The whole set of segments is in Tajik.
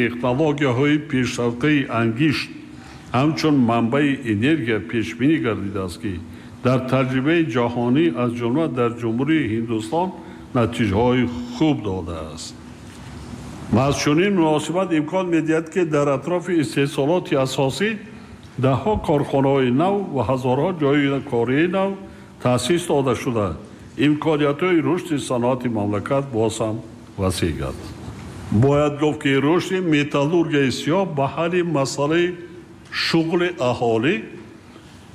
технологияҳои пешрафтаи ангишт ҳамчун манбаи энергия пешбинӣ гардидааст, ки дар таҷрибаи ҷаҳонӣ, аз ҷумла дар Ҷумҳурии Ҳиндустон, натиҷаҳои хуб додааст. Маҳз чунин муносибат имкон медиҳад, ки дар атрофи истеҳсолоти асосӣ даҳҳо корхонаҳои нав ва ҳазорҳо ҷойи кории нав таъсис дода шуда, имкониятҳои рушди саноати мамлакат боз ҳам васеъ гардад. Бояд гуфт, ки рушди металлургияи сиёҳ ба ҳалли масъалаи шуғли аҳолӣ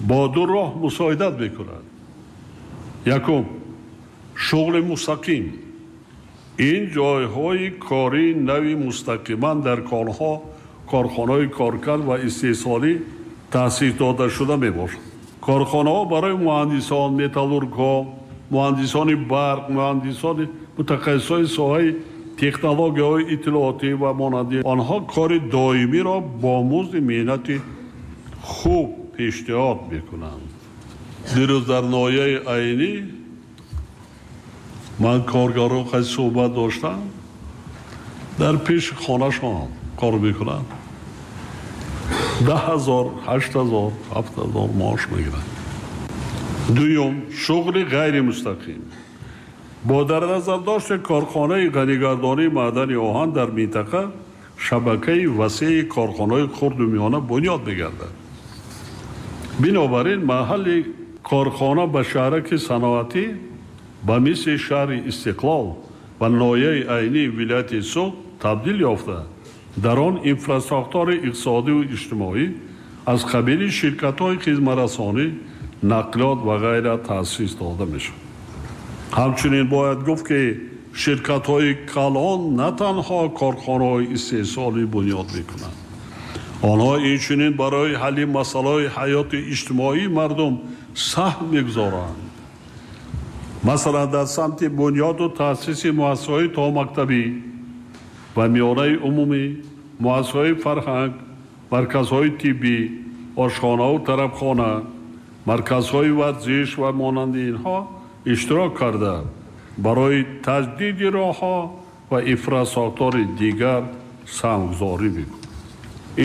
бо ду роҳ мусоидат мекунад. Якум, шуғли мустақим. Ин ҷойҳои кории нави мустақиман дар конҳо, корхонаҳои коркард ва истеҳсолӣ таъсис дода шуда мебошад. Корхонаҳо барои муҳандисон, металлургҳо, муҳандисони барқ, муҳандисони мутахассисони соҳаи технологияҳои иттилоотӣ ва монанди онҳо кори доимиро бо музди меҳнати хуб пешниҳод мекунанд. Дирӯз дар ноҳияи Айнӣ ман коргарон қайд суҳбат доштам, дар пеши хонашон кор мекунанд, 10 000, 8000, 7000 маош мегиранд. Дуюм, шуғли ғайримустақим. Бо дар назар дошти корхонаи ғанигардонии маъдани оҳан дар минтақа шабакаи васеи корхонаҳои хурду миёна бунёд мегардад. Бинобар ин маҳалли корхона ба шаҳраки саноатӣ ба мисли шаҳри Истиқлол ва ноҳияи Айнии вилояти Суғд табдил ёфта, дар он инфрасохтори иқтисодиву иҷтимоӣ аз қабили ширкатҳои хизматрасонӣ, нақлиёт ва ғайра таъсис дода мешавад. Ҳамчунин бояд гуфт, ки ширкатҳои калон на танҳо корхонаҳои истеҳсолӣ бунёд мекунанд, онҳо инчунин барои ҳалли масъалаҳои ҳаёти иҷтимоии мардум саҳм мегузоранд. Масалан, дар самти бунёду таъсиси муассисаҳои томактабӣ ва миёнаи умумӣ, муассисаҳои фарҳанг, марказҳои тиббӣ, ошхонаву тарабхона, марказҳои варзиш ва монанди инҳо иштирок карда, барои таҷдиди роҳҳо ва инфрасохтори дигар саҳмгузорӣ мекунад.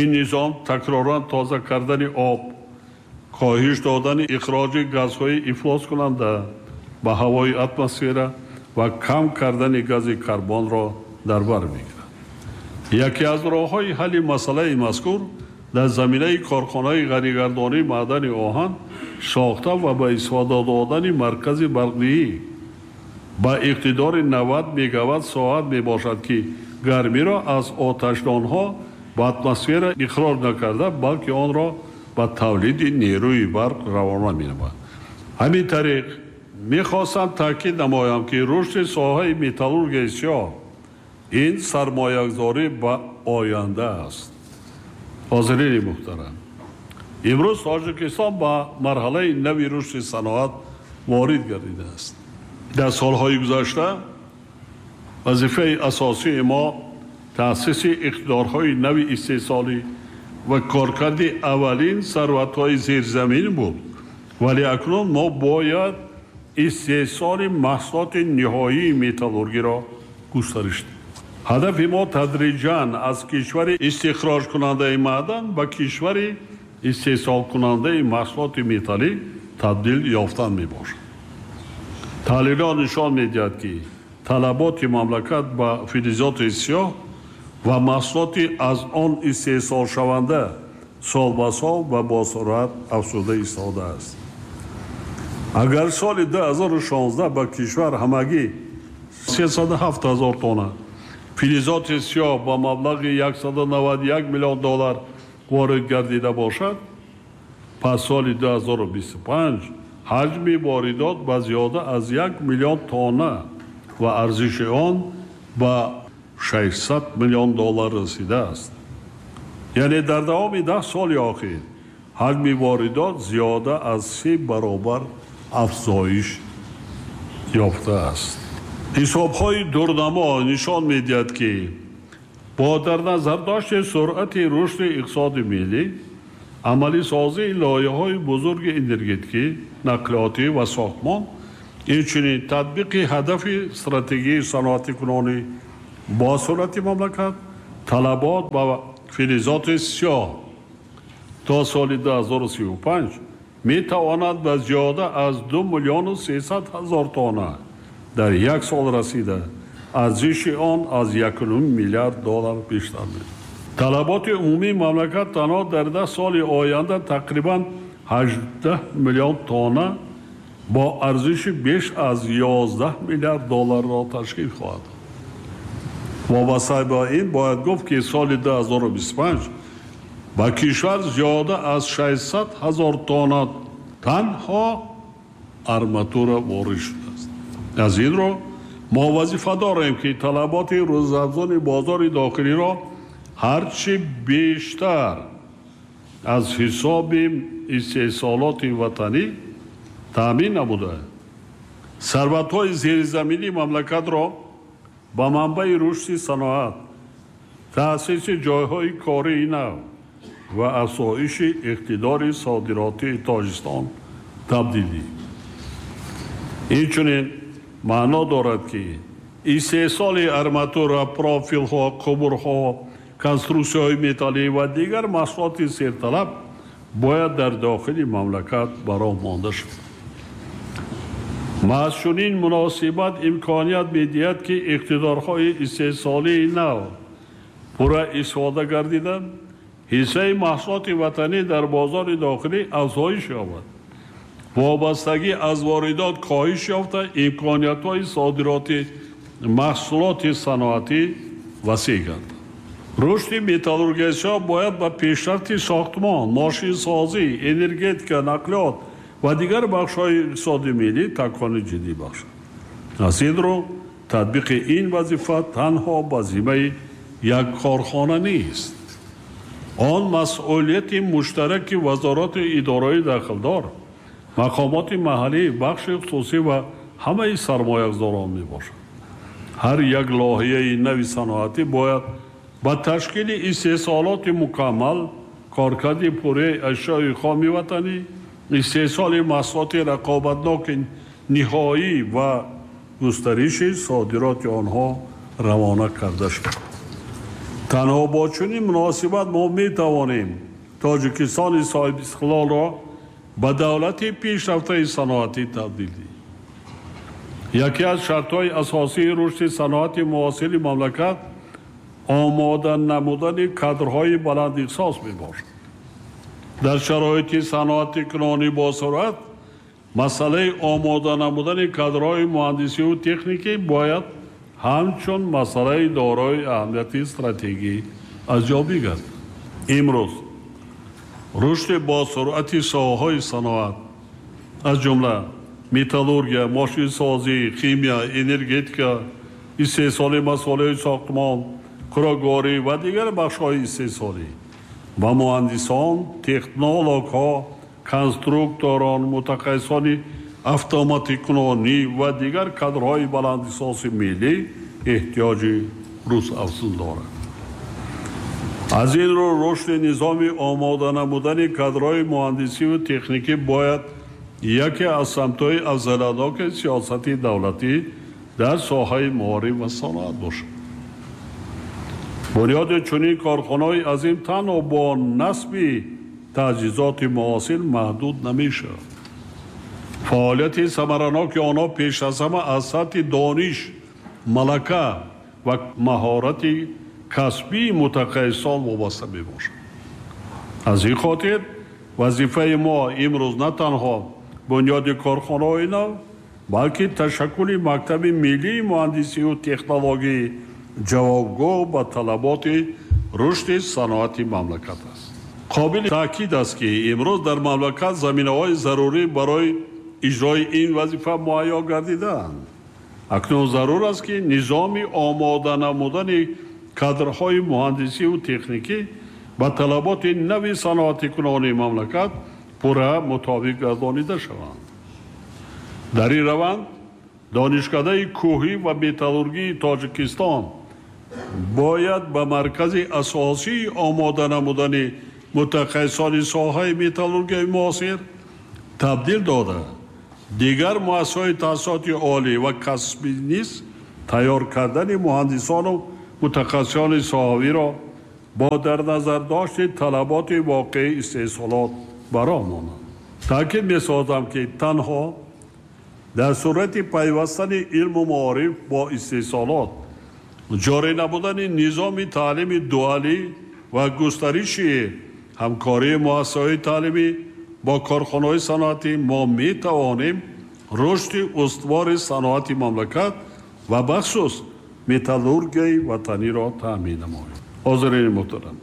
Ин низом такроран тоза кардани об, коҳиш додани ихроҷи газҳои ифлоскунанда ба ҳавои атмосфера ва кам кардани гази карбонро дар бар мегирад. Яке аз роҳҳои ҳалли масъалаи мазкур дар заминаи корхонаи ғанигардонии маъдани оҳан сохта ва ба истифода додани маркази барқдиҳӣ ба иқтидори 90 мегаватт соат мебошад, ки гармиро аз оташдонҳо ба атмосфера ихроҷ накарда, балки онро ба тавлиди нерӯи барқ равона менамояд. Ҳамин тариқ, мехостам таъкид намоям, ки рушди соҳаи металлургияи сиёҳ ин сармоягузорӣ ба оянда аст. Ҳозирини муҳтарам, имрӯз Тоҷикистон ба марҳалаи нави рушди саноат ворид гардидааст. Дар солҳои гузашта вазифаи асосии мо таъсиси иқтидорҳои нави истеҳсолӣ ва коркарди аввалин сарватҳои зерзамин буд, вале акнун мо бояд истеҳсоли маҳсулоти ниҳоии металлургиро густариш диҳем. Ҳадафи мо тадриҷан аз кишвари истихроҷкунандаи маъдан ба кишвари истеҳсолкунандаи маҳсулоти металлӣ табдил ёфтан мебошад. Таҳлилҳо нишон медиҳад, ки талаботи мамлакат ба филизоти сиёҳ ва маҳсулоти аз он истеҳсолшаванда сол ба сол ва бо суръат афзуда истодааст. Агар соли 2016 ба кишвар ҳамагӣ 307 ҳазор тонна филизоти сиёҳ ба маблағи 191 миллион доллар ворид гардида бошад, пас соли 2025 ҳаҷми воридот ба зиёда аз 1 миллион тонна ва арзиши он ба 600 миллион доллар расидааст. Яъне дар давоми 10 соли охир ҳаҷми воридот зиёда аз се баробар афзоиш ёфтааст. Ҳисобҳои дурнамо нишон медиҳад, ки бо дар назардошти суръати рушди иқтисоди миллӣ, амалисозии лоиҳаҳои бузурги энергетикӣ, нақлиётӣ ва сохтмон, инчунин татбиқи ҳадафи стратегияи саноатикунонӣ бо суръати мамлакат Талабот ба филизоти сиёҳ то соли 2035 метавонад ба зиёда аз 2 миллиону 300 ҳазор тонна дар як сол расида, арзиши он аз 1,5 миллиард доллар бештар мешавад. Талаботи умумии мамлакат танҳо дар 10 соли оянда тақрибан 18 миллион тонна бо арзиши беш аз 11 миллиард долларро ташкил хоҳад дод. Вобаста ба ин бояд гуфт, ки соли 2025 ба кишвар зиёда аз 600 ҳазор тонна танҳо арматура ворид шудааст. Аз ин рӯ мо вазифа дорем, ки талаботи рӯзафзуни бозори дохилиро ҳарчи бештар аз ҳисоби истеҳсолоти ватанӣ таъмин намуда, сарватҳои зеризаминии мамлакатро ба манбаи рушди саноат, таъсиси ҷойҳои кории нав ва афзоиши иқтидори содиротии Тоҷикистон табдил диҳем. Инчунин маъно дорад, ки истеҳсоли арматура, профилҳо, қубурҳо, конструксияҳои металлӣ ва дигар маҳсулоти серталаб бояд дар дохили мамлакат ба роҳ монда шавад. Маҳз чунин муносибат имконият медиҳад, ки иқтидорҳои истеҳсолии нав пурра истифода гардида, ҳиссаи маҳсулоти ватанӣ дар бозори дохилӣ афзоиш ёбад, вобастагӣ аз воридот коҳиш ёфта, имкониятҳои содироти маҳсулоти саноатӣ васеъ гардад. Рушди металлургияи сиёҳ бояд ба пешрафти сохтмон, мошинсозӣ, энергетика, нақлиёт ва дигар бахшҳои иқтисоди миллӣ такони ҷиддӣ бахшад. Аз ин рӯ татбиқи ин вазифа танҳо ба зиммаи як корхона нест. Он масъулияти муштараки вазорату идораҳои дахлдор, мақомоти маҳаллӣ, бахши хусусӣ ва ҳамаи сармоягузорон мебошад. Ҳар як лоиҳаи нави саноатӣ бояд ба ташкили истеҳсолоти мукаммал, коркарди пурраи ашёи хоми ватанӣ, истеҳсоли маҳсулоти рақобатноки ниҳоӣ ва густариши содироти онҳо равона карда шавад. Танҳо бо чунин муносибат мо метавонем Тоҷикистони соҳибистиқлолро ба давлати пешрафтаи саноатӣ табдил диҳем. Яке аз шартҳои асосии рушди саноати муосири мамлакат омода намудани кадрҳои баландихтисос мебошад. Дар шароити саноати кунонӣ босуръат масъалаи омода намудани кадрҳои муҳандисиву техникӣ бояд ҳамчун масъалаи дорои аҳамияти стратегӣ арзёбӣ гардад. Имрӯз рушди босуръати соҳаҳои саноат, аз ҷумла металлургия, мошинсозӣ, химия, энергетика, истеҳсоли масолеҳи сохтмон, хӯрокворӣ ва дигар бахшҳои истеҳсолӣ ба муҳандисон, технологҳо, конструкторон, мутахассисони автоматикунонӣ ва дигар кадрҳои баландихтисоси миллӣ эҳтиёҷи рӯзафзун дорад. Аз ин рӯ рушди низоми омода намудани кадрҳои муҳандисиву техникӣ бояд яке аз самтҳои афзалиятноки сиёсати давлатӣ дар соҳаи маориф ва саноат бошад. Бунёди чунин корхонаҳои азим танҳо бо насби таҷҳизоти муосир маҳдуд намешавад. Фаъолияти самараноки онҳо пеш аз ҳама аз сатҳи дониш, малака ва маҳорати касбии мутахассисон вобаста мебошад. Аз ин хотир вазифаи мо имрӯз на танҳо бунёди корхонаҳои нав, балки ташаккули мактаби миллии муҳандисиву технологии ҷавобгӯ ба талаботи рушди саноати мамлакат аст. Қобили таъкид аст, ки имрӯз дар мамлакат заминаҳои зарурӣ барои иҷрои ин вазифа муҳайё гардидаанд. Акнун зарур аст, ки низоми омода намудани кадрҳои муҳандисиву техникӣ ба талаботи нави саноатикунони мамлакат пурра мутобиқ гардонида шаванд. Дар ин раванд Донишкадаи кӯҳӣ ва металлургии Тоҷикистон бояд ба маркази асосии омода намудани мутахассисони соҳаи металлургияи муосир табдил дода, дигар муассисаҳои таҳсилоти олӣ ва касбӣ низ тайёр кардани муҳандисону мутахассисони соҳавиро бо дар назар дошти талаботи воқеии истеҳсолот бароҳ монанд. Таъкид месозам, ки танҳо дар сурати пайвастани илму маориф бо истеҳсолот, ҷорӣ намудани низоми таълими дуалӣ ва густариши ҳамкории муассисаҳои таълимӣ бо корхонаҳои саноатӣ мо метавонем рушди устувори саноати мамлакат ва бахусус металлургияи ватаниро таъмин намоем. Ҳозирини муҳтарам,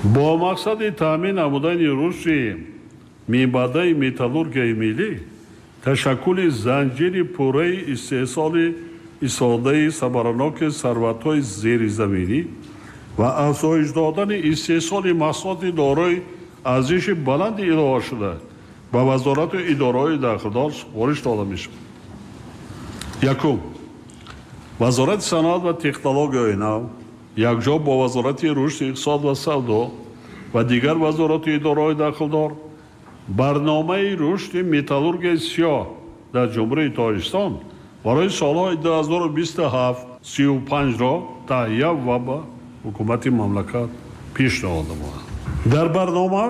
бо мақсади таъмин намудани рушди минбаъдаи металлургияи миллӣ, ташаккули занҷири пурраи истеҳсоли истифодаи самараноки сарватҳои зеризаминӣ ва афзоиш додани истеҳсоли маҳсулоти дорои арзиши баланди иловашуда ба вазорату идораҳои дахлдор супориш дода мешавад. Якум, Вазорати саноат ва технологияҳои нав якҷо бо Вазорати рушди иқтисод ва савдо ва дигар вазорату идораҳои дахлдор барномаи рушди металлургияи сиёҳ дар Ҷумҳурии Тоҷикистон барои солҳои 2027-35-ро таҳия ва ба ҳукумати мамлакат пешниҳод намояд. Дар барнома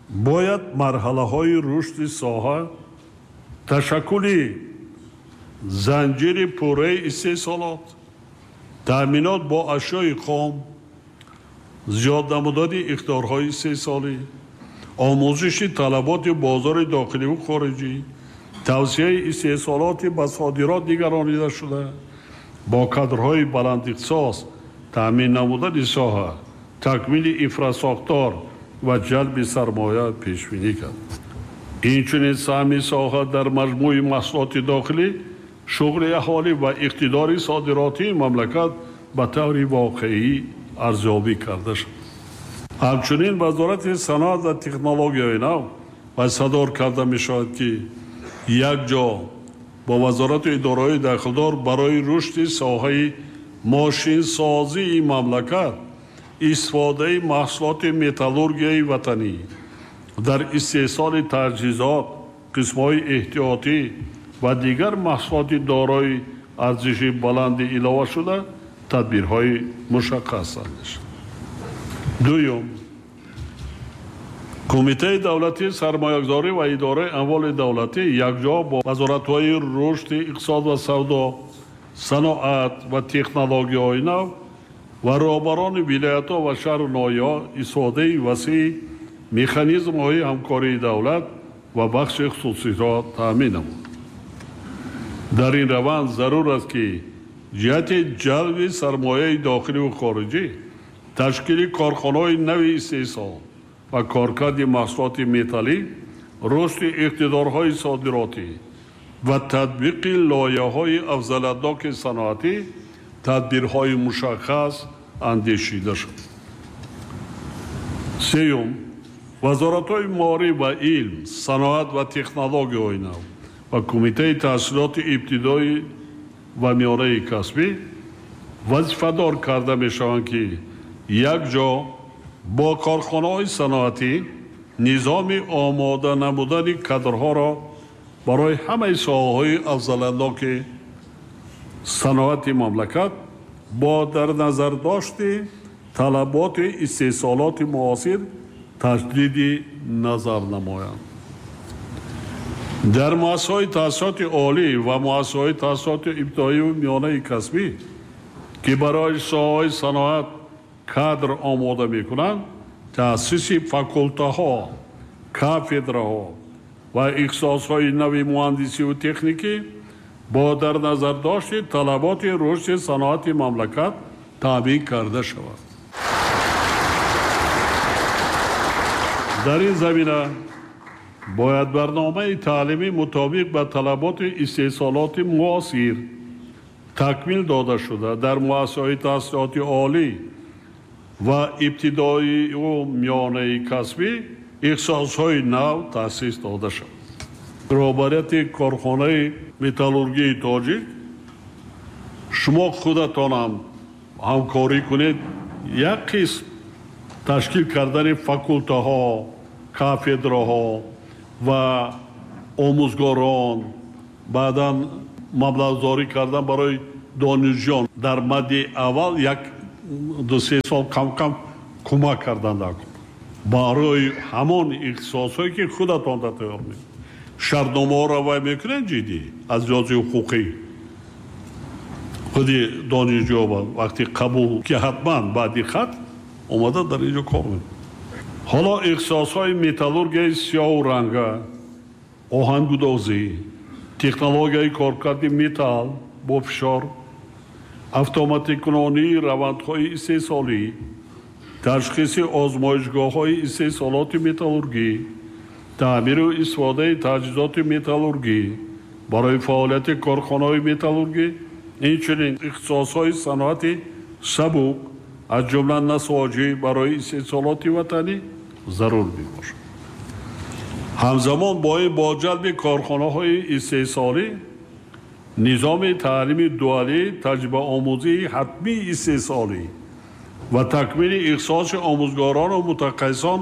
бояд марҳалаҳои рушди соҳа, ташаккули занҷири пурраи истеҳсолот, таъминот бо ашёи хом, зиёд намудани иқтидорҳои истеҳсолӣ, омӯзиши талаботи бозори дохиливу хориҷӣ, тавсияи истеҳсолоти ба содирот нигаронида шуда, бо кадрҳои баландихтисос таъмин намудани соҳа, такмили инфрасохтор ва ҷалби сармоя пешбинӣ кард. Инчунин саҳми соҳа дар маҷмӯи маҳсулоти дохилӣ, шуғли аҳолӣ ва иқтидори содиротии мамлакат ба таври воқеӣ арзёбӣ карда шуд. Ҳамчунин Вазорати саноат ва технологияҳои нав вазифадор карда мешавад, ки якҷо бо вазорату идораҳои дахлдор барои рушди соҳаи мошинсозии мамлакат, истифодаи маҳсулоти металлургияи ватанӣ дар истеҳсоли таҷҳизот, қисмҳои эҳтиётӣ ва дигар маҳсулоти дорои арзиши баланди иловашуда тадбирҳои мушаххас андешад. Дуюм, Кумитаи давлатии сармоягузорӣ ва идораи амволи давлатӣ якҷо бо вазоратҳои рушди иқтисод ва савдо, саноат ва технологияҳои нав ва роҳбарони вилоятҳо ва шаҳру ноҳияҳо истифодаи васеи механизмҳои ҳамкории давлат ва бахши хусусиро таъмин намуд. Дар ин раванд зарур аст, ки ҷиҳати ҷалби сармояи дохиливу хориҷӣ, ташкили корхонаҳои нави истеҳсол ва коркарди маҳсулоти металлӣ, рушди иқтидорҳои содиротӣ ва татбиқи лоиҳаҳои афзалиятноки саноатӣ тадбирҳои мушаххас андешида шуд. Сеюм, вазоратҳои маориф ва илм, саноат ва технологияҳои нав ва Кумитаи таҳсилоти ибтидоӣ ва миёнаи касбӣ вазифадор карда мешаванд, ки якҷо бо корхонаҳои саноатӣ низоми омода намудани кадрҳоро барои ҳамаи соҳаҳои афзалиятноки саноати мамлакат бо дар назар дошти талаботи истеҳсолоти муосир таҷдиди назар намоянд. Дар муассисаҳои таҳсилоти олӣ ва муассисаҳои таҳсилоти ибтидоию миёнаи касбӣ, ки барои соҳаҳои саноат кадр омода мекунанд, таъсиси факултаҳо, кафедраҳо ва ихтисосҳои нави муҳандисиву техникӣ бо дар назар дошти талаботи рушди саноати мамлакат таъмин карда шавад. Дар ин замина бояд барномаи таълимӣ мутобиқ ба талаботи истеҳсолоти муосир такмил дода шуда дар муассисаҳои таҳсилоти олӣ ва ибтидоию миёнаи касбӣ ихтисосҳои нав таъсис дода шавад. Роҳбарияти корхонаи металлургияи тоҷик, шумо худатонам ҳамкорӣ кунед, як қисм ташкил кардани факултаҳо, кафедраҳо ва омӯзгорон, баъдан маблағгузорӣ кардан барои донишҷӯён дар мадди аввал 1-2-3 сол кам-кам кӯмак карданд барои ҳамон ихтисосҳое ки худатон тайёр мекунед. Шартномаҳоро вай мекунед ҷиддӣ аз лиҳози ҳуқуқӣ. Худи донишҷӯ вақти қабул ки ҳатман баъди хат омада дар инҷо кор мекунад. Ҳоло ихтисосҳои металлургияи сиёҳу ранга, оҳангудозӣ, технологияи коркарди металл бо фишор, автоматикунонии равандҳои истеҳсолӣ, ташхиси озмоишгоҳҳои истеҳсолоти металлургӣ, таъмиру истифодаи таҷҳизоти металлургӣ барои фаъолияти корхонаҳои металлургӣ, инчунин ихтисосҳои саноати сабук аз ҷумла насоҷӣ барои истеҳсолоти ватанӣ зарур мебошад. Ҳамзамон бо ин бо ҷалби корхонаҳои истеҳсолӣ низоми таълими дуалӣ, таҷрибаомӯзии ҳатмии истеҳсолӣ ва такмили ихтисоси омӯзгорону мутахассисон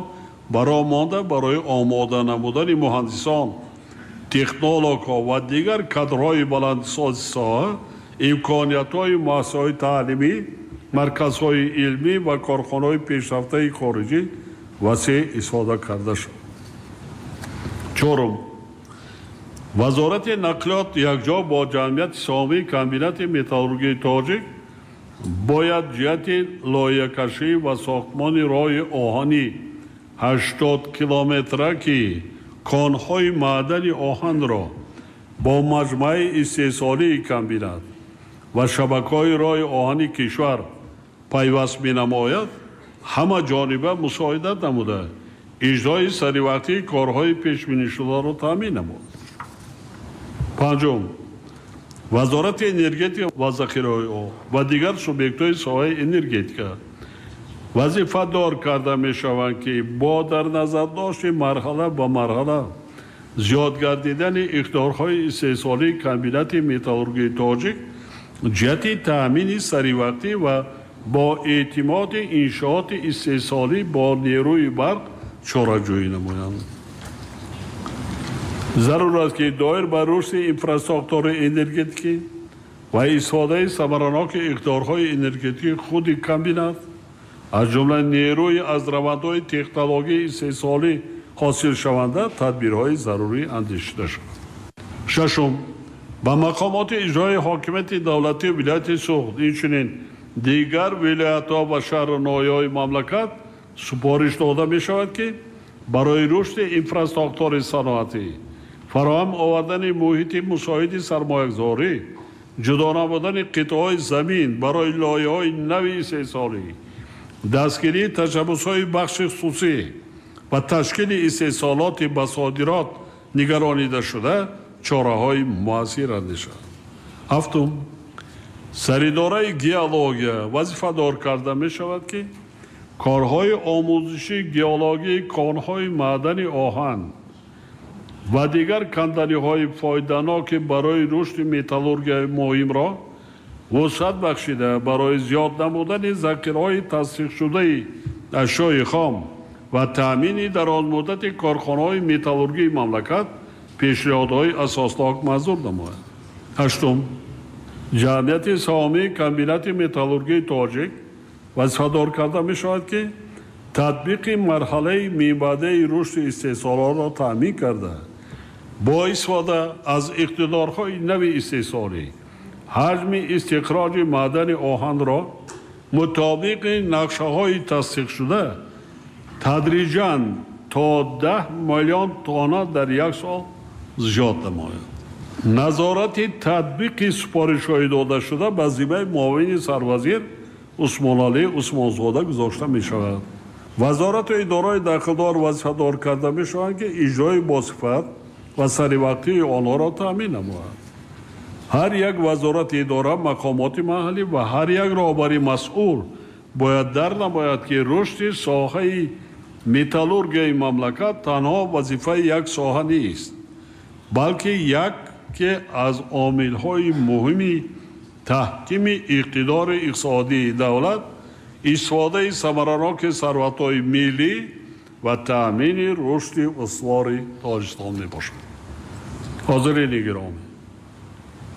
бароҳ монда барои омода намудани муҳандисон, технологҳо ва дигар кадрҳои баландихтисоси соҳа, имкониятҳои муассисаҳои таълимӣ, марказҳои илмӣ ва корхонаҳои пешрафтаи хориҷӣ васеъ истифода карда шуд. Чорум, Вазорати нақлиёт якҷо бо ҷамъияти саҳомии комбинати металлургии тоҷик бояд ҷиҳати лоиҳакашӣ ва сохтмони роҳи оҳани 80 километра, ки конҳои маъдани оҳанро бо маҷмӯаи истеҳсолии комбинат ва шабакаҳои роҳи оҳани кишвар пайваст менамояд, ҳама ҷониба мусоидат намуда иҷрои саривақтии корҳои пешбинишударо таъмин намуд. Панҷум, Вазорати энергетика ва захираҳои об ва дигар субъектҳои соҳаи энергетика вазифадор карда мешаванд, ки бо дар назардошти марҳала ба марҳала зиёд гардидани иқтидорҳои истеҳсолии комбинати металлургии тоҷик ҷиҳати таъмини саривақтӣ ва бо эътимоди иншооти истеҳсолӣ бо нерӯи барқ чораҷӯӣ намоянд. Зарур аст, ки доир ба рушди инфрасохтори энергетикӣ ва истифодаи самараноки иқтидорҳои энергетикии худи комбинат, аз ҷумла нерӯи аз равандҳои технологияи истеҳсолӣ ҳосилшаванда, тадбирҳои зарурӣ андешида шавад. Шашум, ба мақомоти иҷрои ҳокимияти давлатии вилояти Суғд, инчунин дигар вилоятҳо ва шаҳру ноҳияҳои мамлакат супориш дода мешавад, ки барои рушди инфрасохтори саноатӣ, фароҳам овардани муҳити мусоиди сармоягузорӣ, ҷудо намудани қитъаҳои замин барои лоиҳаҳои нави истеҳсолӣ, дастгирии ташаббусҳои бахши хусусӣ ва ташкили истеҳсолоти ба содирот нигаронидашуда чораҳои муассир андешад. Ҳафтум, саридораи геология вазифадор карда мешавад, ки корҳои омӯзиши геологии конҳои маъдани оҳан ва дигар канданиҳои фоиданоки барои рушди металлургияи муҳимро вусъат бахшида барои зиёд намудани захираҳои тасдиқшудаи ашёи хом ва таъмини дарозмуддати корхонаҳои металлургии мамлакат пешниҳодҳои асоснок манзур намояд. Ҳаштум, ҷамъияти саҳомии комбинати металлургии тоҷик вазифадор карда мешавад, ки татбиқи марҳалаи минбаъдаи рушди истеҳсолотро таъмин карда, бо истифода аз иқтидорҳои нави истеҳсолӣ ҳаҷми истихроҷи маъдани оҳанро мутобиқи нақшаҳои тасдиқшуда тадриҷан то 10 миллион тонна дар як сол зиёд намояд. Назорати татбиқи супоришҳои додашуда ба зиммаи муовини сарвазир Усмоналӣ Усмонзода гузошта мешавад. Вазорату идораҳои дахлдор вазифадор карда мешаванд, ки иҷрои босифат ва саривақтии онҳоро таъмин намояд. Ҳар як вазорати идора, мақомоти маҳаллӣ ва ҳар як роҳбари масъул бояд дар намояд, ки рушди соҳаи металлургияи мамлакат танҳо вазифаи як соҳа нест, балки яке аз омилҳои муҳими таҳкими иқтидори иқтисодии давлат, истифодаи самараноки сарватҳои миллӣ ва таъмини рушди устувори Тоҷикистон мебошад. Ҳозирини гиромӣ,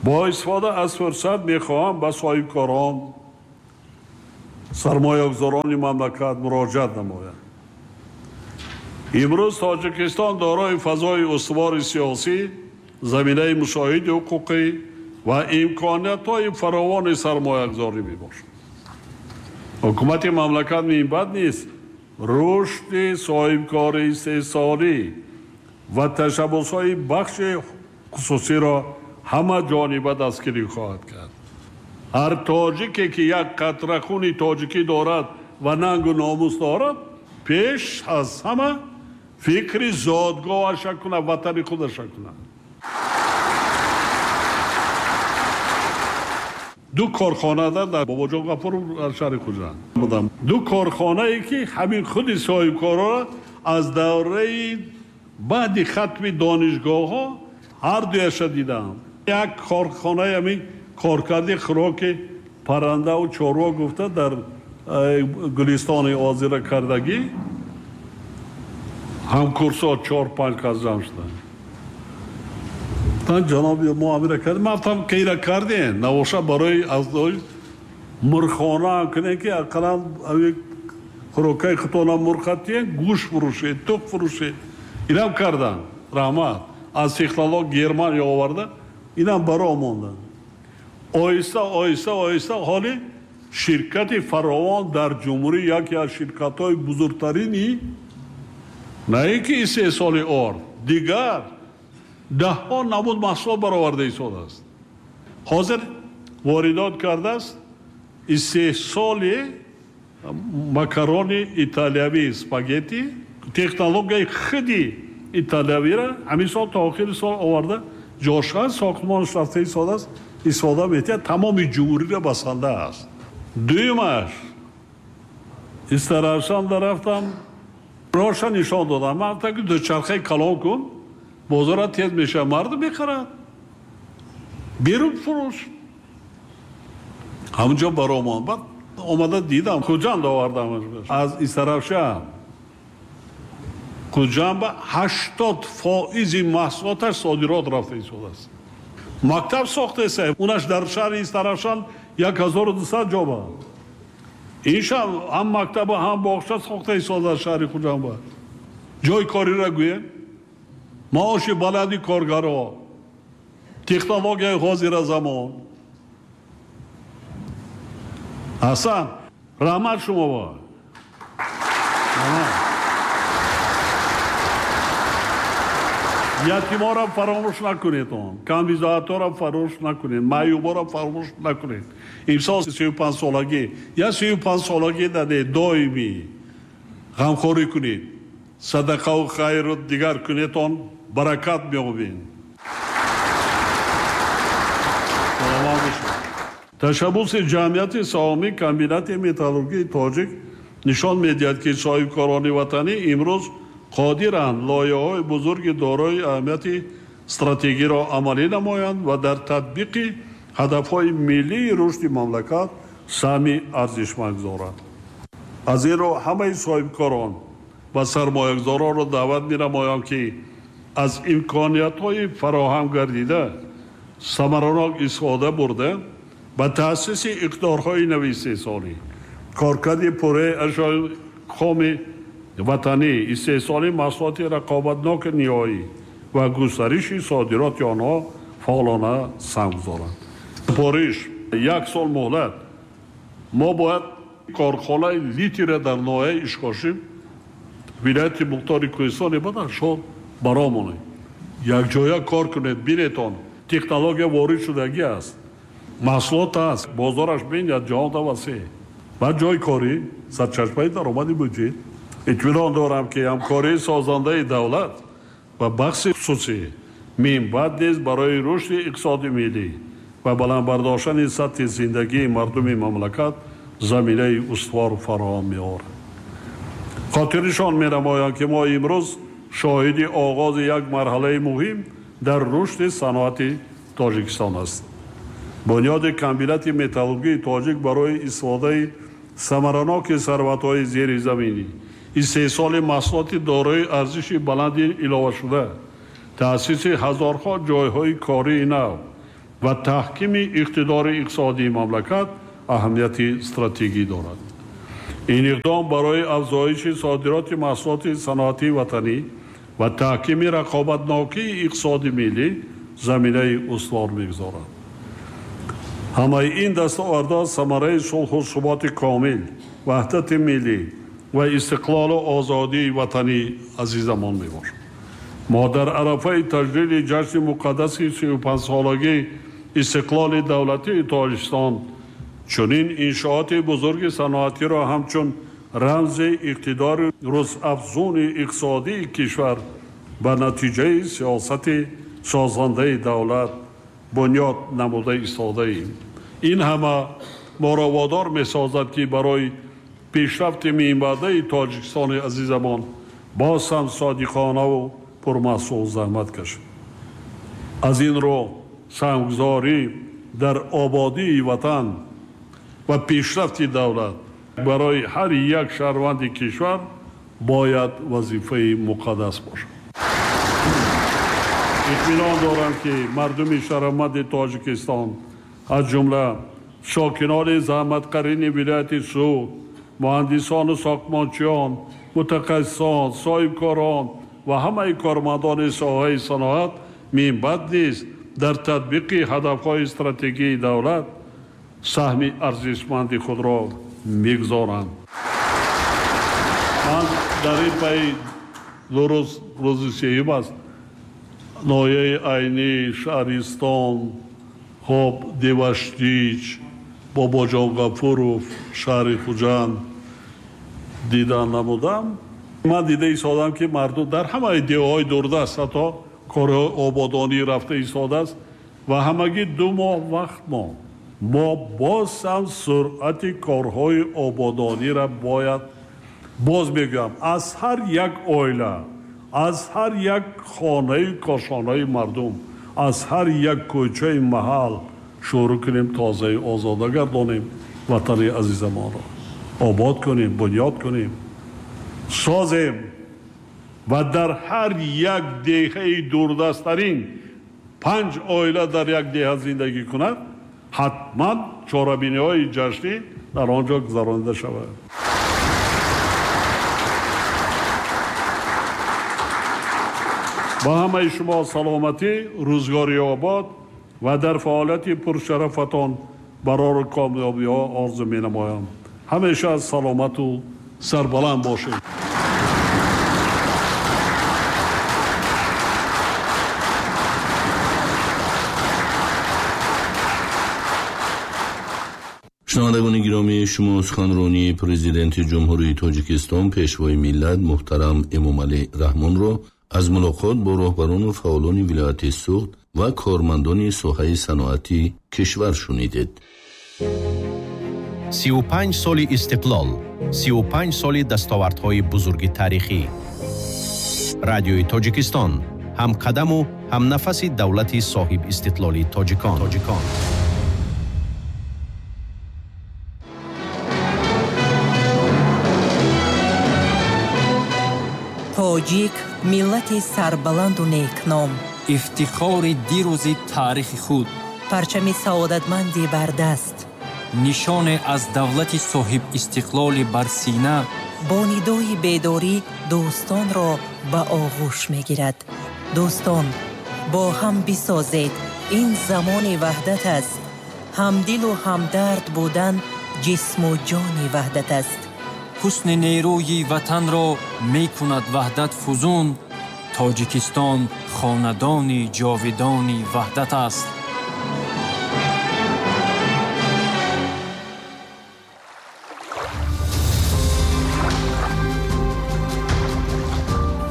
Бо истифода аз фурсат мехоҳам ба соҳибкорон, сармоягузорони мамлакат муроҷиат намоям. Имрӯз Тоҷикистон дорои фазои устувори сиёсӣ, заминаи мусоиди ҳуқуқӣ ва имкониятҳои фаровони сармоягузорӣ мебошад. Ҳукумати мамлакат минбаъд низ рушди соҳибкории истеҳсолӣ ва ташаббусҳои бахши хусусиро ҳама ҷониба дастгирӣ хоҳад кард. Ҳар тоҷике ки як қатра хуни тоҷикӣ дорад ва нангу номус дорад, пеш аз ҳама фикри зодгоҳаша кунад, ватани худаша кунад. Ду корхона дар Бобоҷон Ғафуров дар шаҳри Хуҷанд будам. Ду корхонае ки ҳамин худи соҳибкорро аз давраи баъди хатми донишгоҳҳо ҳар дуяша дидам. Як корхонаи ҳамин коркарди хӯроки паррандаву чорво гуфта дар Гулистони озира кардагӣ, ҳамкурсо 4-5 кас ҷамъ шуданд. Ҷаноби мо амира кардем, ман гуфтам ки ира кардем, навоша барои аз мурғхона ҳам кунем, ки ақаллан хӯрокаи худтона мурға тиен, гӯшт фурӯшед, тух фурӯшед. Инам карданд, раҳмат. Аз технолог Германия оварда, инам баро монданд. Оҳиста, оҳиста, оҳиста ҳоли ширкати фаровон дар ҷумҳурӣ яке аз ширкатҳои бузургтарини на ин ки истеҳсоли орд, дигар даҳҳо намуд маҳсулот бароварда истодааст. Ҳозир воридот кардааст истеҳсоли макарони италиявӣ, спагетти, технологияи худи италиявиро ҳамин сол то охири сол оварда ҷошқа сохтмонаш рафта истодааст, истифода метиҳад, тамоми ҷумҳуриро басанда аст. Дуюмаш Истаравшанда рафтам, роша нишон додам. Ман гуфтам ки дучархаи калон кун, бозора тез мешавад, мардум мехарад, берун фурӯш. Ҳамунҷо баромон. Баъд омада дидам, Хуҷанд овардам аз Истаравшан. Хуҷанд ба 80% маҳсулоташ содирот рафта истодааст. Мактаб сохтеса, унаш дар шаҳри Истаравшан 1200 ҷоба. Ин шаҳр ҳам мактаба, ҳам боғча сохта истодааст шаҳри Хуҷанд. Ҷои кориро гӯем, маоши баланди коргаро, технологияи ҳозира замон. Ҳасан, раҳмат шумо ба. Ятиморо фаромӯш накунед, он камбизоатҳоро фаромӯш накунед, маъюборо фаромӯш накунед. Имсол 35 солагӣ, я 35 солагӣ даде доимӣ ғамхорӣ кунед, садақаву хайру дигар кунед, он баракат меёбед. Саломат бошед. Ташаббуси ҷамъияти саҳомии комбинати металлургии тоҷик нишон медиҳад, ки соҳибкорони ватанӣ имрӯз қодиранд лоиҳаҳои бузурги дорои аҳамияти стратегиро амалӣ намоянд ва дар татбиқи ҳадафҳои миллии рушди мамлакат саҳми арзишманд гузоранд. Аз ин рӯ ҳамаи соҳибкорон ва сармоягузоронро даъват менамоям, ки аз имкониятҳои фароҳам гардида самаранок истифода бурда ба таъсиси иқтидорҳои нави истеҳсолӣ, коркарди пурраи ашёи хоми ватанӣ, истеҳсоли маҳсулоти рақобатноки ниҳоӣ ва густариши содироти онҳо фаъолона саҳм гузоранд. Супориш як сол муҳлат. Мо бояд корхонаи литира дар ноҳияи Ишкошим, вилояти Мухтори Кӯҳистони Бадахшон баромонем. Якҷоя кор кунед, бинед он технология ворид шудагӣ аст, маҳсулот аст, бозораш бинед, ҷаҳонда васеъ. Баъд ҷои корӣ, сарчашмаи даромади буҷет. Итминон дорам, ки ҳамкории созандаи давлат ва бахши хусусӣ минбаъд низ барои рушди иқтисоди миллӣ ва баланд бардоштани сатҳи зиндагии мардуми мамлакат заминаи устувор фароҳам меорад. Хотирнишон менамоям, ки мо имрӯз шоҳиди оғози як марҳалаи муҳим дар рушди саноати Тоҷикистон ҳастем. Бунёди комбинати металлургии тоҷик барои истифодаи самараноки сарватҳои зеризаминӣ, истеҳсоли маҳсулоти дорои арзиши баланди иловашуда, таъсиси ҳазорҳо ҷойҳои кории нав ва таҳкими иқтидори иқтисодии мамлакат аҳамияти стратегӣ дорад. Ин иқдом барои афзоиши содироти маҳсулоти саноатии ватанӣ ва таҳкими рақобатнокии иқтисоди миллӣ заминаи устувор мегузорад. Ҳамаи ин дастовардҳо самараи сулҳу суботи комил, ваҳдати миллӣ ва истиқлолу озодии ватани азизамон мебошад. Мо дар арафаи таҷлили ҷашни муқаддаси 35-солагии истиқлоли давлатии Тоҷикистон чунин иншооти бузурги саноатиро ҳамчун рамзи иқтидори рӯзафзуни иқтисодии кишвар ба натиҷаи сиёсати созандаи давлат бунёд намуда истодаем. Ин ҳама моро водор месозад, ки барои пешрафти минбаъдаи Тоҷикистони азизамон боз ҳам содиқонаву пурмаҳсул заҳмат кашем. Аз ин рӯ саҳмгузорӣ дар ободии ватан ва пешрафти давлат барои ҳар як шаҳрванди кишвар бояд вазифаи муқаддас бошад. Итминон дорам, ки мардуми шарафманди Тоҷикистон, аз ҷумла сокинони заҳматкарини вилояти Суғд, муҳандисону сохтмончиён, мутахассисон, соҳибкорон ва ҳамаи кормандони соҳаи саноат минбаъд низ дар татбиқи ҳадафҳои стратегии давлат саҳми арзишманди худро мегузоранд. Ман дар ин пайи ду рӯз, рӯзи сеюм аст, ноҳияи Айнӣ, Шаҳристон, хоб, Деваштич, Бобоҷон Ғафуров, шаҳри Хуҷанд дидан намудам. Ман дида истодам, ки мардум дар ҳамаи деҳаҳои дурдаст ҳатто корҳои ободонӣ рафта истодааст ва ҳамагӣ 2 моҳ вақт монд. Мо боз ҳам суръати корҳои ободониро бояд, боз мегӯям, аз ҳар як оила, аз ҳар як хонаи кошонаи мардум, аз ҳар як кӯчаи маҳал шурӯъ кунем, тозаи озода гардонем, ватани азизамонро обод кунем, бунёд кунем, созем ва дар ҳар як деҳаи дурдасттарин 5 оила дар як деҳа зиндагӣ кунад, ҳатман чорабиниҳои ҷашнӣ дар он ҷо гузаронида шавад. Ба ҳамаи шумо саломатӣ, рӯзгори обод ва дар фаъолияти пуршарафатон барору комёбиҳо орзу менамоям. Ҳамеша саломату сарбаланд бошед. Шунавандагони гиромӣ, шумо суханронии Президенти Ҷумҳурии Тоҷикистон, Пешвои миллат муҳтарам Эмомалӣ Раҳмонро аз мулоқот бо роҳбарону фаъолони вилояти Суғд ва кормандони соҳаи саноати кишвар шунидед. 35 соли истиқлол, 35 соли дастовардҳои бузурги таърихӣ. Радиои Тоҷикистон ҳамқадаму ҳамнафаси давлати соҳибистиқлоли тоҷикон. Тоҷик миллати сарбаланду некном, ифтихори дирӯзи таърихи худ, парчами саодатманди бардаст, нишоне аз давлати соҳибистиқлоли бар сина, бо нидои бедорӣ дӯстонро ба оғӯш мегирад. Дӯстон, бо ҳам бисозед, ин замони ваҳдат аст. Ҳамдилу ҳамдард будан ҷисму ҷони ваҳдат аст. Ҳусни нерӯи ватанро мекунад ваҳдат фузун. Тоҷикистон хонадони ҷовидони ваҳдат аст.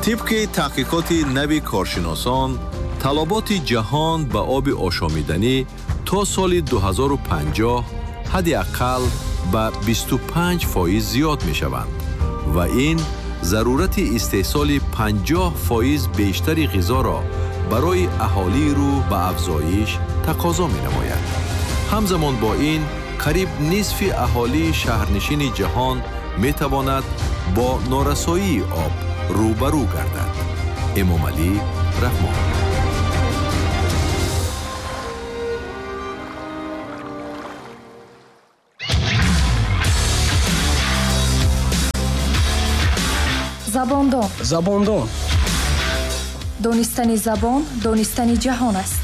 Тибқи таҳқиқоти нави коршиносон, талаботи ҷаҳон ба оби ошомиданӣ то соли 2050 ҳадди ақал ба 25% зиёд мешаванд ва ин зарурати истеҳсоли 50% бештари ғизоро барои аҳолии рӯ ба афзоиш тақозо менамояд. Ҳамзамон бо ин, қариб нисфи аҳолии шаҳрнишини ҷаҳон метавонад бо норасоии об рӯбарӯ гардад. Эмомалӣ Раҳмон. Забондон. Забондон. Донистани забон, донистани ҷаҳон аст.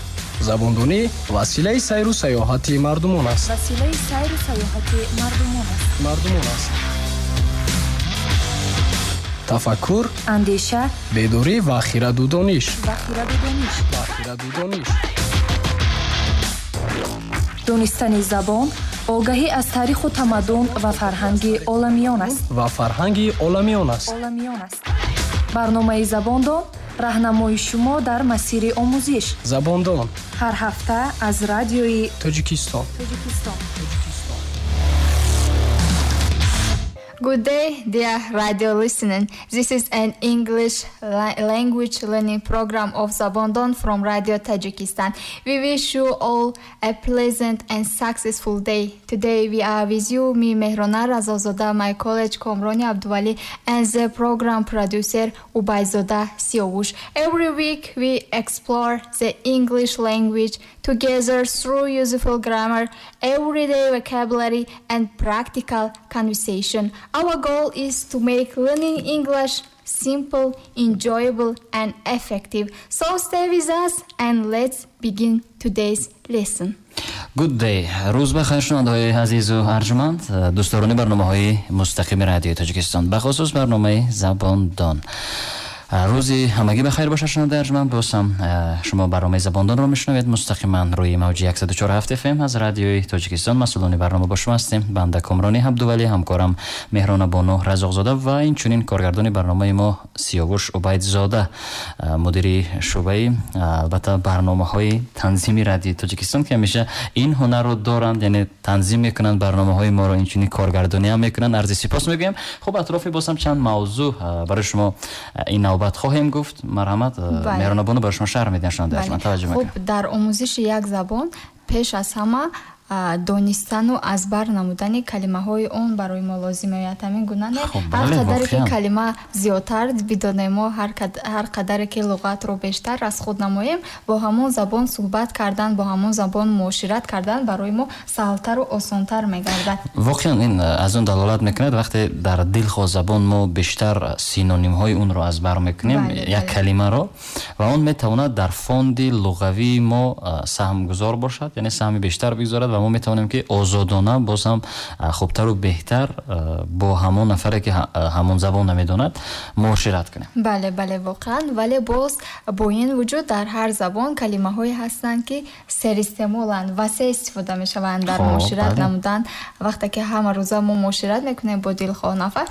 Забондонӣ василаи сайру саёҳати мардумон аст. Василаи сайру саёҳати мардумон аст. Мардумон аст. Тафаккур, андеша, бедорӣ ва хираду дониш. Ва хираду дониш. Ва хираду дониш. Донистани забон огаҳӣ аз таъриху тамаддун ва фарҳанги оламиён аст. Ва фарҳанги оламиён аст. Оламиён аст. Барномаи Забондон раҳнамои шумо дар масири омӯзиш. Забондон ҳар ҳафта аз радиои Тоҷикистон. Тоҷикистон. Good day, dear radio listener. This is an English language learning program of Zabondon from Radio Tajikistan. We wish you all a pleasant and successful day. Today we are with you, me, Mehrona Razozoda, my colleague Komroni Abduvali, and the program producer Ubayzoda Siyovush. Every week we explore the English language together through useful grammar, everyday vocabulary, and practical conversation. Our goal is to make learning English simple, enjoyable, and effective. So stay with us and let's begin today's lesson. Good day. Рӯз ба хайр, шунавандаҳои азизу арҷманд, дӯстдорони барномаҳои мустақими радиои Тоҷикистон, бахусус барномаи Забондон. Рӯзи ҳамагӣ ба хайр бошад, шунавандаи арҷманд. Боз ҳам шумо барномаи Забондонро мешунавед мустақиман рӯи мавҷи 104.7 FM аз радиои Тоҷикистон. Масъулони барнома бо шумо ҳастем банда Комрони Абдувалӣ, ҳамкорам Меҳрона Бону Разоқзода ва инчунин коргардони барномаи мо Сиёвуш Убайдзода, мудири шӯъбаи албатта барномаҳои танзими радиои Тоҷикистон, ки ҳамеша ин ҳунарро доранд, яъне танзим мекунанд барномаҳои моро, инчунин коргардонӣ ҳам мекунанд. Арзи сипос мегӯям. Хуб, атрофи боз ҳам чанд мавзӯъ барои шумо ин навбат хоҳем гуфт. Марҳамат, Меҳрона Бону барои шумо шарҳ медиҳанд, шунавандаи арҷманд, таваҷҷӯҳ мекунам. Хуб, дар омӯзиши як забон пеш аз ҳама донистану аз бар намудани калимаҳои он барои мо лозим меояд. Ҳамин гуна не? Ҳар қадаре ки калима зиёдтар бидонем мо, ҳар қадаре ки луғатро бештар аз худ намоем, бо ҳамон забон суҳбат кардан, бо ҳамон забон муошират кардан барои мо саҳлтару осонтар мегардад. Воқеан ин аз он далолат мекунад, вақте дар дилхоҳ забон мо бештар синонимҳои онро аз бар мекунем, як калимаро, ва он метавонад дар фонди луғавии мо саҳмгузор бошад, яъне саҳми бештар бигузорад ва мо метавонем ки озодона боз ҳам хубтару беҳтар бо ҳамон нафаре ки ҳамон забон намедонад муошират кунем. Бале, бале, воқеан. Вале боз бо ин вуҷуд дар ҳар забон калимаҳое ҳастанд, ки серистеъмоланд, васеъ истифода мешаванд дар муошират намудан. Вақте ки ҳама рӯза мо муошират мекунем бо дилхоҳ нафар,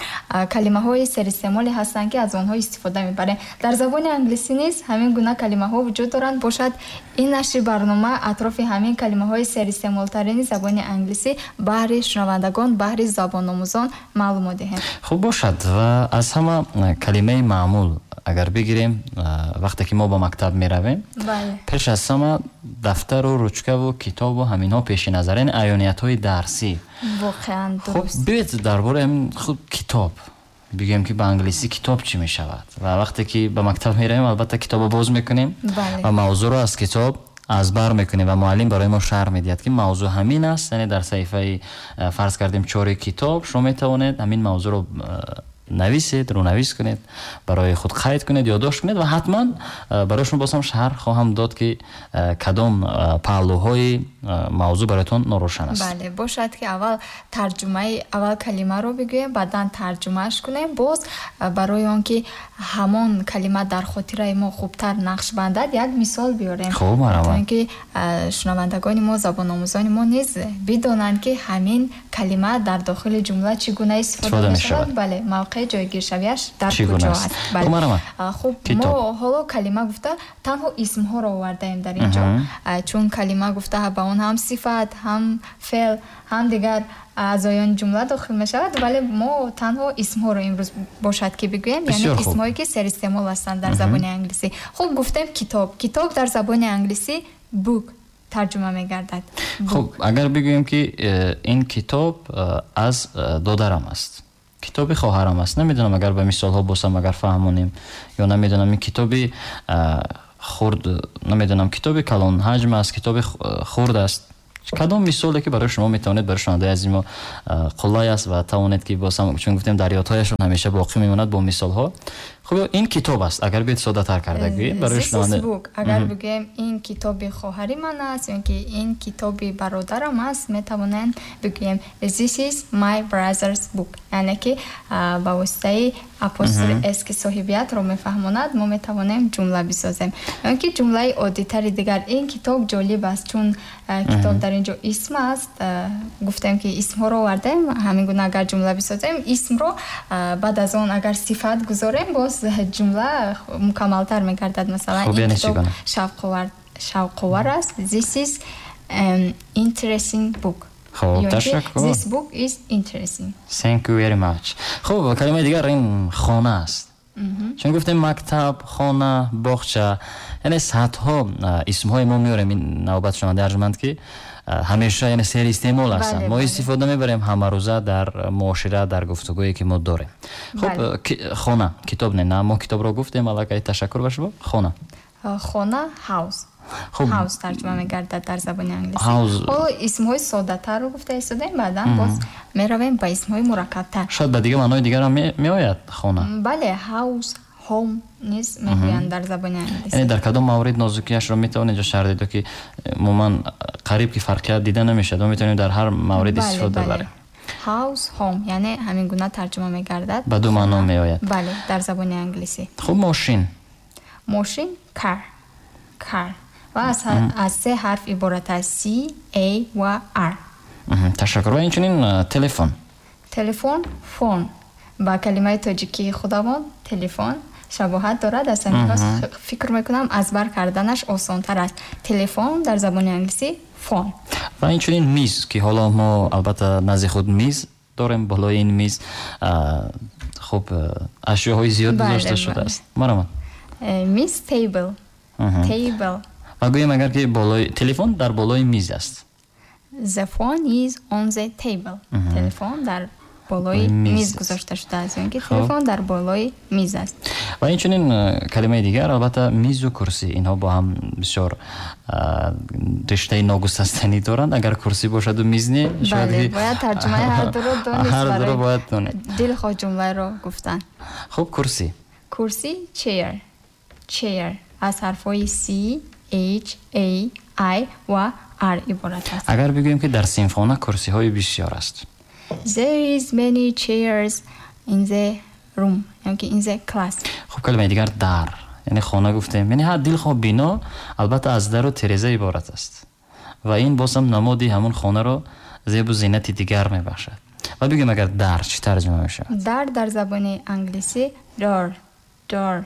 калимаҳои серистеъмоле ҳастанд, ки аз онҳо истифода мебарем. Дар забони англисӣ низ ҳамин гуна калимаҳо вуҷуд доранд. Бошад, ин нашри барнома атрофи ҳамин калимаҳои серистеъмолтарини забони англисӣ баҳри шунавандагон, баҳри забономӯзон маълумот диҳем. Хуб бошад. Ва аз ҳама калимаи маъмул агар бигирем, вақте ки мо ба мактаб меравем, пеш аз ҳама дафтару ручкаву китобу ҳаминҳо пеши назар, яъне аёниятҳои дарсӣ. Воқеан дуруст. Хуб, биёед дар бораи ҳамин худ китоб бигӯем, ки ба англисӣ китоб чӣ мешавад. Ва вақте ки ба мактаб меравем, албатта китобро боз мекунем ва мавзӯъро аз китоб аз бар мекунем ва муаллим барои мо шарҳ медиҳад, ки мавзӯъ ҳамин аст. Яъне дар саҳифаи фарз кардем 4 китоб шумо метавонед ҳамин мавзӯъро нависед, рӯнавис кунед, барои худ қайд кунед, ёддошт кунед ва ҳатман барои шумо боз ҳам шарҳ хоҳам дод, ки кадом паҳлӯҳои мавзӯъ бароятон норӯшан аст. Бале, бошад ки аввал тарҷумаи аввал калимаро бигӯем, баъдан тарҷумааш кунем. Боз барои он ки ҳамон калима дар хотираи мо хубтар нақш бандад, як мисол биёрем. Хуб, марҳамат. То ин ки шунавандагони мо, забономӯзони мо низ бидонанд, ки ҳамин калима дар дохили ҷумла чӣ гуна истифода мешавад. Бале, мавқеъ ҷойгиршавиаш дар куҷо аст. Хуб, мо ҳоло калима гуфта танҳо исмҳоро овардаем дар ин ҷо, чун калима гуфта ба он ҳам сифат, ҳам феъл, ҳам дигар аъзоёни ҷумла дохил мешавад, вале мо танҳо исмҳоро имрӯз бошад ки бигӯем, яъне исмҳое ки серистеъмол ҳастанд дар забони англисӣ. Хуб, гуфтем китоб. Китоб дар забони англисӣ book тарҷума мегардад. Хуб, агар бигӯем ки ин китоб аз додарам аст, китоби хоҳарам аст, намедонам агар ба мисолҳо бошам агар фаҳмонем ё намедонам ин китоби хурд, намедонам китоби калон ҳаҷм аст, китоби хурд аст, Кадом мисоле ки барои шумо метавонед барои шунавандаи азизи мо қулай аст ва тавонед ки боз ҳам, чун гуфтем, дар ёдҳояшон ҳамеша боқӣ мемонад бо мисолҳо. Хуб, ин китоб аст, агар биёед соддатар карда гӯем барои шунаванда. Агар бигӯем ин китоби хоҳари ман аст ё ки ин китоби бародарам аст, метавонем бигӯем this is my brother's book, яъне ки ба воситаи апостроф s ки соҳибиятро мефаҳмонад, мо метавонем ҷумла бисозем. Ё ки ҷумлаи оддитари дигар: ин китоб ҷолиб аст. Чун китоб дар ин ҷо исм аст, гуфтем ки исмҳоро овардем, ҳамин гуна агар ҷумла бисозем, исмро баъд аз он агар сифат гузорем, боз ҷумла мукаммалтар мегардад. Масалан, ин китоб шавқовар аст. This is an interesting book. Хуб, ташаккур. This book is interesting. Thank you very much. Хуб, калимаи дигар ин хона аст. Чун гуфтем мактаб, хона, боғча, яъне садҳо исмҳои мо меорем ин навбат, шунавандаи арҷманд, ки ҳамеша, яъне сери истеъмол ҳастанд, мо истифода мебарем ҳамарӯза дар муошират, дар гуфтугӯе ки мо дорем. Хуб, хона, китоб не, мо китобро гуфтем аллакай, ташаккур ба шумо. Хона. Хона house. House тарҷума мегардад дар забони англисӣ. Ҳоло исмҳои соддатарро гуфта истодаем, баъдан боз меравем ба исмҳои мураккабтар. Шояд ба дигар маънои дигарам меояд хона. Бале, house, home низ мегӯянд дар забони англисӣ. Яъне дар кадом маврид нозукиашро метавонед ҷо шарҳ дед, ки умуман қариб ки фарқият дида намешавад, мо метавонем дар ҳар маврид истифода барем. House, home, яъне ҳамин гуна тарҷума мегардад. Ба ду маъно меояд. Бале, дар забони англисӣ. Хуб, мошин. Мошин car, car ва аз се ҳарф иборат аст: C, A ва R. Ташаккур. Ва инчунин телефон. Телефон phone ба калимаи тоҷикии худамон телефон шабоҳат дорад, аз ҳамин лиҳоз фикр мекунам, аз бар карданаш осонтар аст. Телефон дар забони англисӣ phone. Ва инчунин миз, ки ҳоло мо албатта назди худ миз дорем, болои ин миз хуб ашёҳои зиёд гузошта шудааст. Марҳамат. Миз table, table. Ва гӯем агар ки болои телефон дар болои миз аст. The phone is on the table. Телефон дар болои миз гузошта шудааст, ё ки телефон дар болои миз аст. Ва инчунин калимаи дигар, албатта, мизу курсӣ, инҳо бо ҳам бисёр риштаи ногусастанӣ доранд. Агар курсӣ бошаду миз не, шояд бояд тарҷумаи ҳар дуро донист. Ҳар дуро бояд донед. Дилхоҳ ҷумларо гуфтан. Хуб, курсӣ. Курсӣ chair, chair аз ҳарфҳои C, H, A, I ва R иборат аст. Агар бигӯем ки дар синфхона курсиҳои бисёр аст. There is many chairs in the room, яъне ки in the class. Хуб, калимаи дигар дар, яъне хона гуфтем, яъне ҳар дилхоҳ бино албатта аз дару тереза иборат аст ва ин боз ҳам намоди ҳамон хонаро зебу зинати дигар мебахшад. Ва бигӯем агар дар чӣ тарҷума мешавад? Дар дар забони англисӣ door, door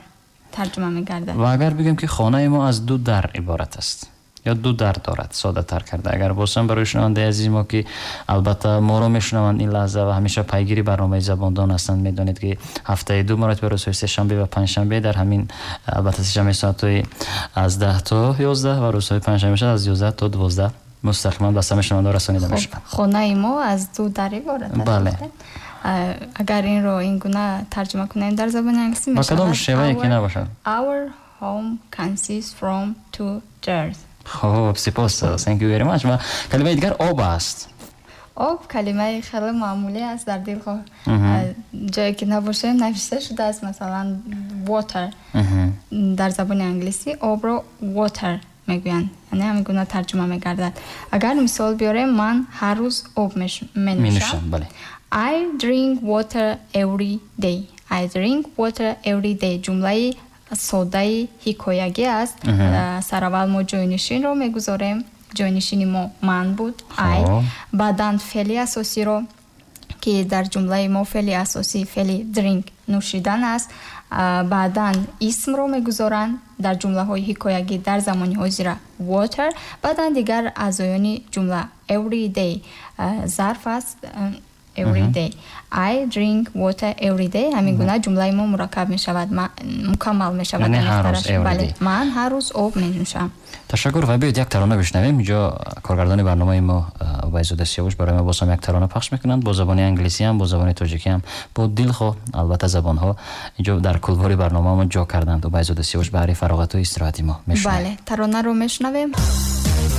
тарҷума мегардад. Ва агар бигӯем ки хонаи мо аз ду дар иборат аст ё ду дар дорад, соддатар карда агар бошам барои шунавандаи азизи мо, ки албатта моро мешунаванд ин лаҳза ва ҳамеша пайгири барномаи Забондон ҳастанд, медонед ки ҳафтаи ду маротиба, рӯзҳои сешанбе ва панҷшанбе, дар ҳамин албатта сешанбе соатҳои аз 10 то 11 ва рӯзҳои панҷшанбе аз 11 то 12 мустақиман ба самъи шунавандаҳо расонида мешавад. Хонаи мо аз ду дар иборат аст. Бале. Агар инро ин гуна тарҷума кунем дар забони англисӣ мешавад. Ба кадом шевае ки набошад? Our home consists from two doors. Хуб, сипос. Thank you very much. Ва калимаи дигар об аст. Об калимаи хеле маъмулӣ аст, дар дилхоҳ ҷое ки набошем навишта шудааст, масалан water. Дар забони англисӣ обро water мегӯянд, яъне ҳамин гуна тарҷума мегардад. Агар мисол биёрем, ман ҳар рӯз об менӯшам. I drink water every day. I drink water every day. Ҷумлаи содаи ҳикоягӣ аст. Сараввал мо ҷойнишинро мегузорем. Ҷойнишини мо ман буд, I. Баъдан феъли асосиро, ки дар ҷумлаи мо феъли асосӣ феъли drink нӯшидан аст. Баъдан исмро мегузоранд дар ҷумлаҳои ҳикоягӣ дар замони ҳозира water. Баъдан дигар аъзоёни ҷумла every day зарф аст, every day. I drink water every day. Ҳамин гуна ҷумлаи мо мураккаб мешавад, мукаммал мешавад. Бале, ман ҳар рӯз об менӯшам. Ташаккур. Ва биёед як тарона бишнавем. Инҷо коргардони барномаи мо Убайзода Сиёвуш барои мо боз ҳам як тарона пахш мекунанд, бо забони англисӣ ҳам, бо забони тоҷикӣ ҳам, бо дилхоҳ албатта забонҳо инҷо дар кулвори барномаамон ҷо карданд. Убайзода Сиёвуш баҳри фароғату истироҳати мо мешунавем. Бале, таронаро мешунавем.